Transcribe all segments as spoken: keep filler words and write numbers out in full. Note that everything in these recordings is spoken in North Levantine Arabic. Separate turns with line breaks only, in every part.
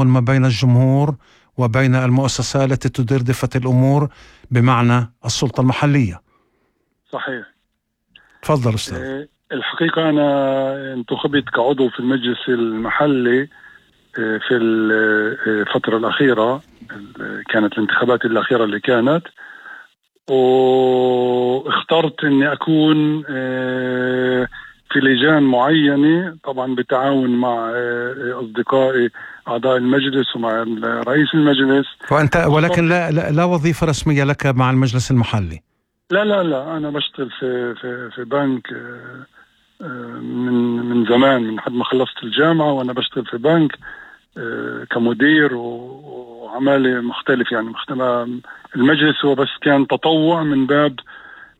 ما بين الجمهور وبين المؤسسة التي تدير دفة الأمور بمعنى السلطة المحلية.
صحيح.
تفضل أستاذ.
الحقيقة أنا انتخبت كعضو في المجلس المحلي في الفترة الأخيرة، كانت الانتخابات الأخيرة اللي كانت، واخترت أني أكون في لجان معينة، طبعا بتعاون مع أصدقائي أعضاء المجلس ومع رئيس المجلس.
وأنت ولكن لا, لا, لا وظيفة رسمية لك مع المجلس المحلي؟
لا لا لا أنا بشتغل في, في, في بنك من من زمان، من حد ما خلصت الجامعة وأنا بشتغل في بنك كمدير وعمالة مختلف. يعني مختلف. المجلس هو بس كان تطوع من باب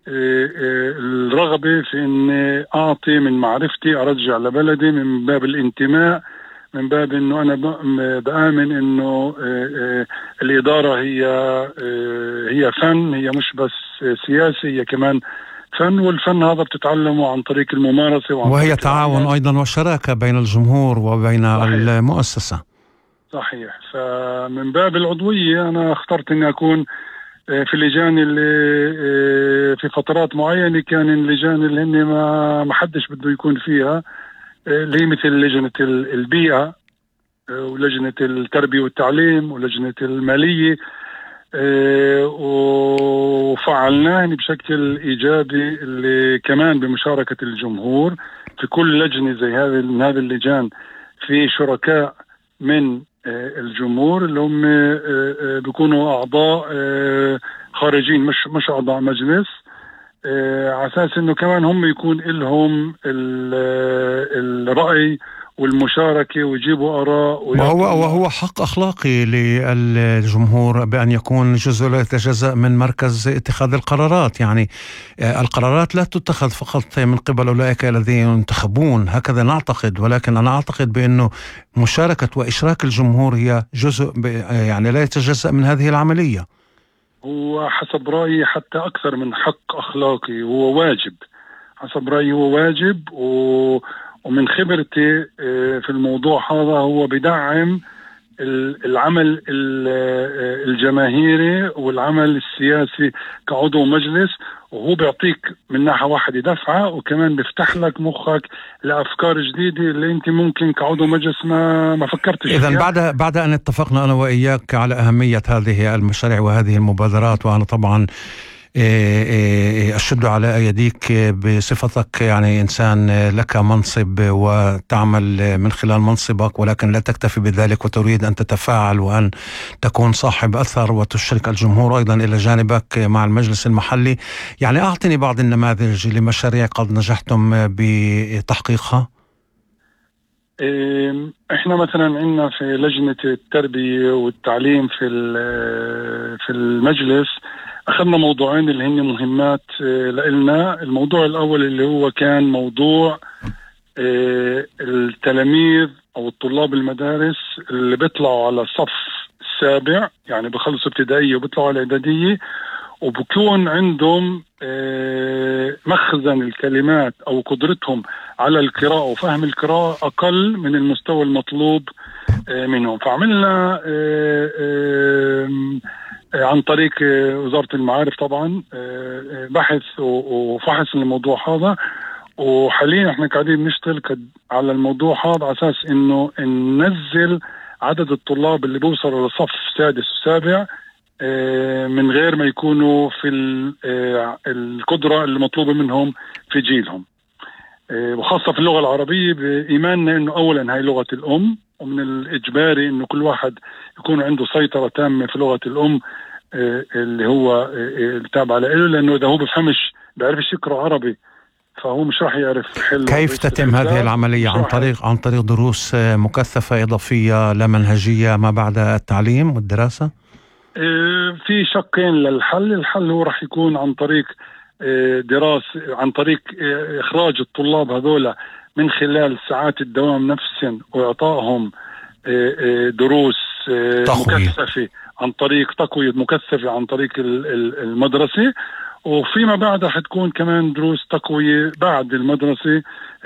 الرغبة في أني أعطي من معرفتي، أرجع لبلدي، من باب الانتماء، من باب أنه أنا بآمن أنه الإدارة هي هي فن، هي مش بس سياسي، هي كمان فن، والفن هذا بتتعلمه عن طريق الممارسة وعن
وهي
طريق
تعاون
العمل.
أيضا وشراكة بين الجمهور وبين صحيح. المؤسسة.
صحيح. فمن باب العضوية أنا اخترت أني أكون في اللجان اللي في فترات معينة كان اللجان اللي هن ما ما حدش بده يكون فيها، اللي هي مثل لجنة البيئة ولجنة التربية والتعليم ولجنة المالية، وفعلناه بشكل إيجابي اللي كمان بمشاركة الجمهور. في كل لجنة زي هذه من هذه اللجان في شركاء من الجمهور اللي هم بيكونوا أعضاء خارجين، مش مش أعضاء مجلس، على أساس إنه كمان هم يكون لهم الرأي والمشاركة ويجيبوا آراء.
وهو وهو حق أخلاقي للجمهور بأن يكون جزء لا يتجزأ من مركز اتخاذ القرارات. يعني القرارات لا تتخذ فقط من قبل أولئك الذين ينتخبون، هكذا نعتقد، ولكن أنا أعتقد بأنه مشاركة وإشراك الجمهور هي جزء يعني لا يتجزأ من هذه العملية.
هو حسب رأيي حتى أكثر من حق أخلاقي، هو واجب. حسب رأيي هو واجب، و ومن خبرتي في الموضوع هذا هو بدعم العمل الجماهيري والعمل السياسي كعضو مجلس، وهو بيعطيك من ناحية واحدة دفعة، وكمان بيفتح لك مخك لأفكار جديدة اللي انت ممكن كعضو مجلس ما ما فكرتش فيها.
إذن بعد بعد أن اتفقنا أنا وإياك على أهمية هذه المشاريع وهذه المبادرات، وأنا طبعا أشد على أيديك بصفتك يعني إنسان لك منصب وتعمل من خلال منصبك، ولكن لا تكتفي بذلك وتريد أن تتفاعل وأن تكون صاحب أثر وتشرك الجمهور أيضا إلى جانبك مع المجلس المحلي. يعني أعطني بعض النماذج لمشاريع قد نجحتم بتحقيقها.
احنا مثلا عندنا في لجنة التربية والتعليم في في المجلس أخذنا موضوعين اللي هن مهمات لإلنا. الموضوع الأول اللي هو كان موضوع التلاميذ أو الطلاب المدارس اللي بيطلعوا على الصف السابع، يعني بخلصوا ابتدائية وبيطلعوا على إعدادية، وبكون عندهم مخزن الكلمات أو قدرتهم على القراءة وفهم القراءة أقل من المستوى المطلوب منهم. فعملنا عن طريق وزارة المعارف طبعا بحث وفحص الموضوع هذا، وحاليا احنا قاعدين نشتغل على الموضوع هذا على اساس انه ننزل عدد الطلاب اللي بيوصلوا لصف سادس وسابع من غير ما يكونوا في القدرة اللي مطلوبة منهم في جيلهم، وخاصة في اللغة العربية، بإيماننا انه اولا هاي لغة الام، ومن الإجباري إنه كل واحد يكون عنده سيطرة تامة في لغة الأم اللي هو التابع له، لأنه إذا هو بفهمش بيعرفش يقرأ عربي فهو مش راح يعرف حل.
كيف تتم هذه العملية؟ عن طريق عن طريق دروس مكثفة إضافية لا منهجية ما بعد التعليم والدراسة؟
في شقين للحل. الحل هو راح يكون عن طريق دراسة، عن طريق إخراج الطلاب هذولا من خلال ساعات الدوام نفسهم وإعطائهم دروس مكثفة عن طريق تقوية مكثفة عن طريق المدرسة، وفيما بعد رح تكون كمان دروس تقوية بعد المدرسة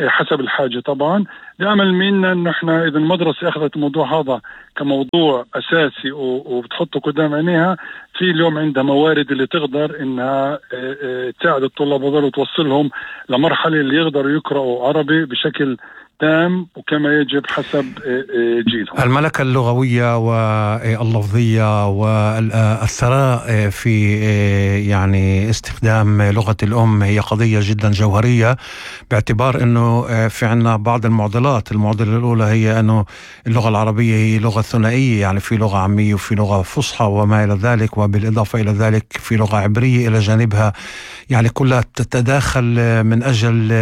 حسب الحاجة طبعا. بأمل منا أنه إحنا إذا المدرسة أخذت الموضوع هذا كموضوع أساسي وبتحطه قدام عينيها، في اليوم عندها موارد اللي تقدر إنها تساعد الطلاب هذول وتوصلهم لمرحلة اللي يقدروا يقرأوا عربي بشكل تام وكما يجب حسب جيلهم.
الملكة اللغوية واللفظية والثراء في يعني استخدام لغة الأم هي قضية جدا جوهرية، باعتبار أنه في عنا بعض المعضلات. المعضلة الأولى هي أنه اللغة العربية هي لغة ثنائية، يعني في لغة عامية وفي لغة فصحى وما إلى ذلك، وبالإضافة إلى ذلك في لغة عبرية إلى جانبها، يعني كلها تتداخل من أجل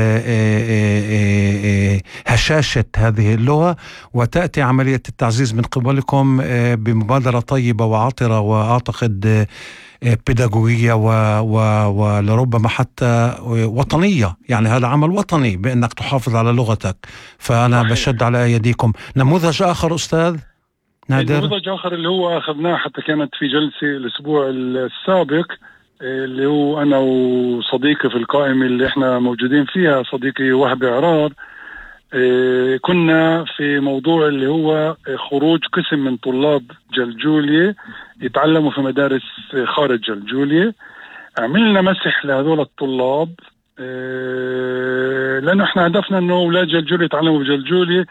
هشاشة هذه اللغة. وتأتي عملية التعزيز من قبلكم بمبادرة طيبة وعطرة وأعتقد بيداغوجية ولربما حتى وطنية، يعني هذا عمل وطني بأنك تحافظ على لغتك. فأنا صحيح. بشد على أيديكم. نموذج آخر أستاذ نادر،
نموذج آخر اللي هو أخذناه حتى كانت في جلسة الأسبوع السابق، اللي هو أنا وصديقي في القائمة اللي إحنا موجودين فيها، صديقي وهبي عرار. كنا في موضوع اللي هو خروج قسم من طلاب جلجولية يتعلموا في مدارس خارج جلجولية. عملنا مسح لهذول الطلاب لأنه إحنا هدفنا إنه أولاد جلجولية يتعلموا بجلجولية.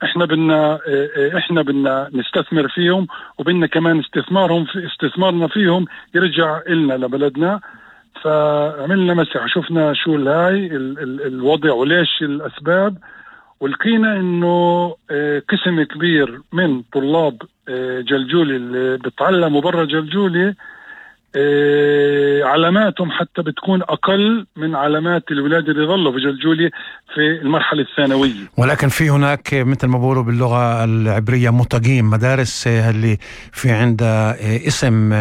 إحنا بدنا إحنا بدنا نستثمر فيهم، وبدنا كمان استثمارهم في استثمارنا فيهم يرجع إلنا لبلدنا. فعملنا مسح، شفنا شو الهاي الوضع وليش الأسباب، ولقينا إنه قسم كبير من طلاب جلجولي اللي بتعلموا برا جلجولي علاماتهم حتى بتكون أقل من علامات الولاد اللي ظلوا في جلجولي في المرحلة الثانوية.
ولكن في هناك مثل ما بقولوا باللغة العبرية متقيم، مدارس اللي في عندها اسم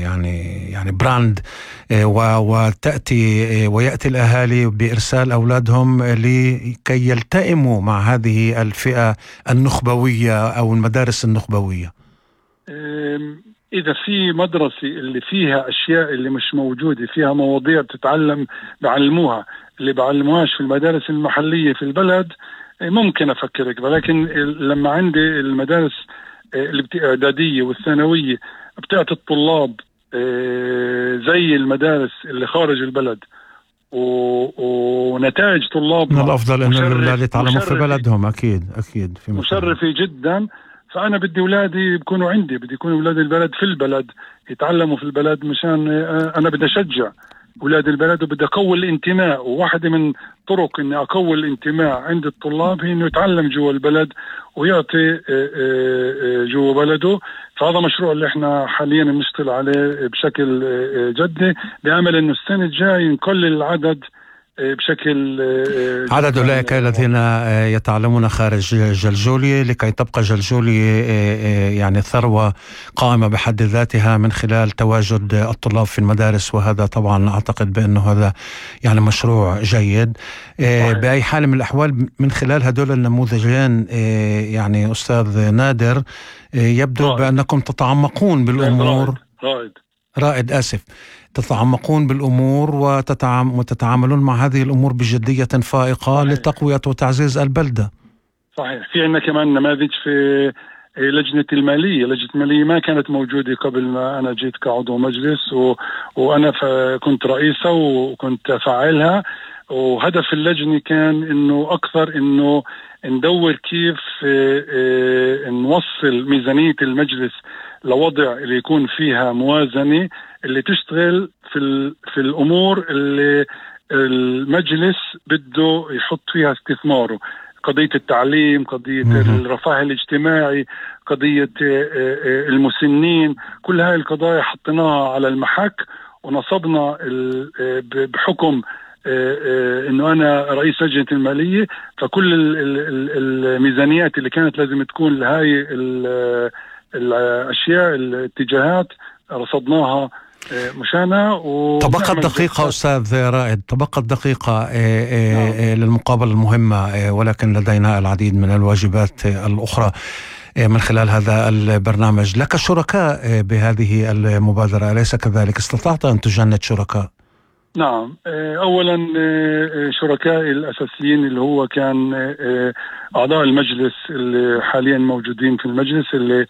يعني يعني براند، وتأتي ويأتي الأهالي بإرسال أولادهم لكي يلتئموا مع هذه الفئة النخبوية أو المدارس النخبوية.
إذا في مدرسة اللي فيها أشياء اللي مش موجودة، فيها مواضيع بتتعلم بعلموها اللي بعلموهاش في المدارس المحلية في البلد، ممكن أفكرك. ولكن لما عندي المدارس الإعدادية والثانوية بتعطي الطلاب زي المدارس اللي خارج البلد ونتائج طلابنا
من الأفضل أن الأولاد يتعلموا في بلدهم. أكيد أكيد في
مشرفة جدا. فأنا بدي أولادي بيكونوا عندي، بدي يكونوا أولاد البلد في البلد يتعلموا في البلد، مشان أنا بدي أشجع أولاد البلد وبدي أقوي الانتماء. وواحدة من طرق إني أقوي الانتماء عند الطلاب هي إنه يتعلم جوا البلد ويعطي جوا بلده. فهذا مشروع اللي احنا حاليا بنشتغل عليه بشكل جدي، بأمل إنه السنة الجاية نقلل العدد بشكل
عدد أولئك الذين يتعلمون خارج جلجولية، لكي تبقى جلجولية يعني ثروة قائمة بحد ذاتها من خلال تواجد الطلاب في المدارس. وهذا طبعا أعتقد بأنه هذا يعني مشروع جيد. بأي حال من الأحوال من خلال هدول النموذجين يعني أستاذ نادر يبدو رائد. بأنكم تتعمقون بالأمور
رائد, رائد.
رائد آسف تتعمقون بالأمور وتتعام وتتعاملون مع هذه الأمور بجدية فائقة. صحيح. لتقوية وتعزيز البلدة.
صحيح. في عندنا كمان نماذج في لجنة المالية. لجنة المالية ما كانت موجودة قبل ما أنا جيت كعضو مجلس، و... وأنا ف... كنت رئيسة وكنت فاعلها. وهدف اللجنة كان إنه أكثر إنه ندور كيف نوصل ميزانية المجلس لوضع اللي يكون فيها موازنة اللي تشتغل في في الأمور اللي المجلس بده يحط فيها استثماره. قضية التعليم، قضية الرفاه الاجتماعي، قضية المسنين، كل هاي القضايا حطيناها على المحك ونصبنا بحكم انه انا رئيس لجنة المالية. فكل الميزانيات اللي كانت لازم تكون لهاي الاشياء الاتجاهات رصدناها مشانا.
تبقت دقيقة أستاذ رائد، تبقت دقيقة نعم. للمقابلة المهمة، ولكن لدينا العديد من الواجبات الأخرى. من خلال هذا البرنامج. لك شركاء بهذه المبادرة أليس كذلك؟ استطعت أن تجند شركاء؟
نعم، أولا شركائي الأساسيين اللي هو كان أعضاء المجلس اللي حاليا موجودين في المجلس، اللي